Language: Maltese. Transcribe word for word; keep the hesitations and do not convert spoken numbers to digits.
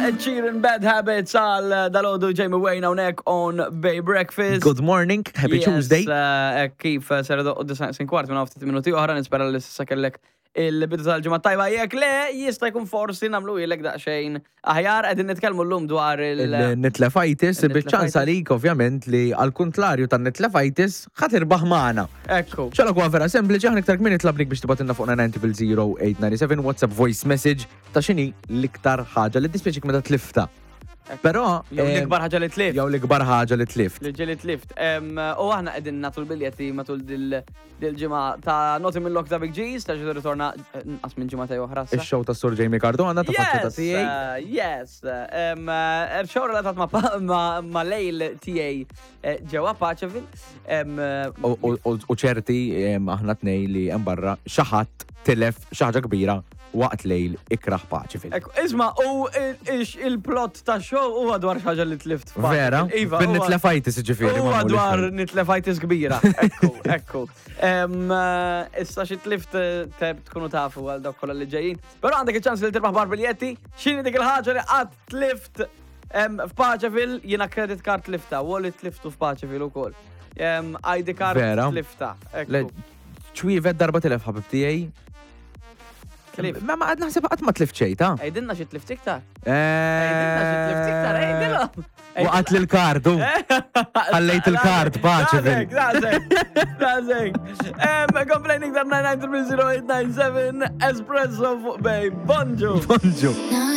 Ed Sheeran, Bad Habits għal dalgħodu Jamie Wayne hawnhekk on Bay Breakfast. Good morning, happy Yes, Tuesday. eh, kif eh, ser idoqqu disgħa kwart minn ftit minuti oħra, nispera li s'issa kellek il-bidu tal-ġimgħa tajba. Jekk le, jista' jkun forsi nagħmlu ilek daqsxejn aħjar. Qegħdin nitkellmu llum dwar il- Il-Nitlefajtis, Il-Nitlefajtis. biċ-ċans għalik ovvjament li għal-kontlarju tan-Nitlefajtis ħa tirbaħ magħna. Ekku. ċala kwa vera sempliċi, aħna iktar kmieni tlabnik biex tibgħatilna fuq nine zero zero eight nine seven WhatsApp voice message ta' x'inhi l-iktar ħaġa li dispjaċik meta tliftha. Però Jew eh, l-ikbar ħaġa li tlift. Jew l-ikbar ħaġa li tlift. Li ġieli tlift. Em, U aħna qegħdin nagħtu l-biljetti matul dil- dil-ġimgħa ta' Naughty Mill ta' Big G's, ta' ġidu ritorna eh, nqas minn ġimgħa ta' oħra. issa. Ix-show ta' Sur Jamie Cardona ta' faċċata Yes, tiegħi. uh, yes. Um, uh, show relatat ma' pa- ma' ma' lejl tiegħi eh, ġewwa Paceville. Um, U- U u ċerti em, aħna tnej li hemm barra xi ħadd tilef xi ħaġa kbira waqt lejl ikraħ Paceville. Ekku, isma', u il- ix- il-plot ta' show huwa dwar xi ħaġa li tlift f'Paceville. Vera? Iva, Bin huwa- nitlefajtis ġifieri. Huwa ma' dwar nitlefajtis kbira. Ekku, ekku. Em, eh, Issa xi tlift eh, teb tkunu tafu għal dawk kollha li ġejjin. Però għandek iċ-ċans li tirbaħ bar biljetti. X'inhi dik il-ħaġa li qatt tlift em, f'Paceville? Jiena credit card tlifta, wallet tliftu f'Paceville ukoll. Em, I D card Vera? tlifta. Le, Ekku. ċwievet darba tilef ħabib tiegħi. Tlift. Ma ma għad naħseb qatt ma tlift xejn, ta' Għidilna xi tlift iktar. Għidilna xi tlift iktar, għidilna. Waqgħet li l-kardu. Ħallejt il-kard, Paceville. Daqshekk, daqshekk. Complaining dar nine nine zero eight nine seven, Espresso fuq Bay. Bonġu. Bonġu. Now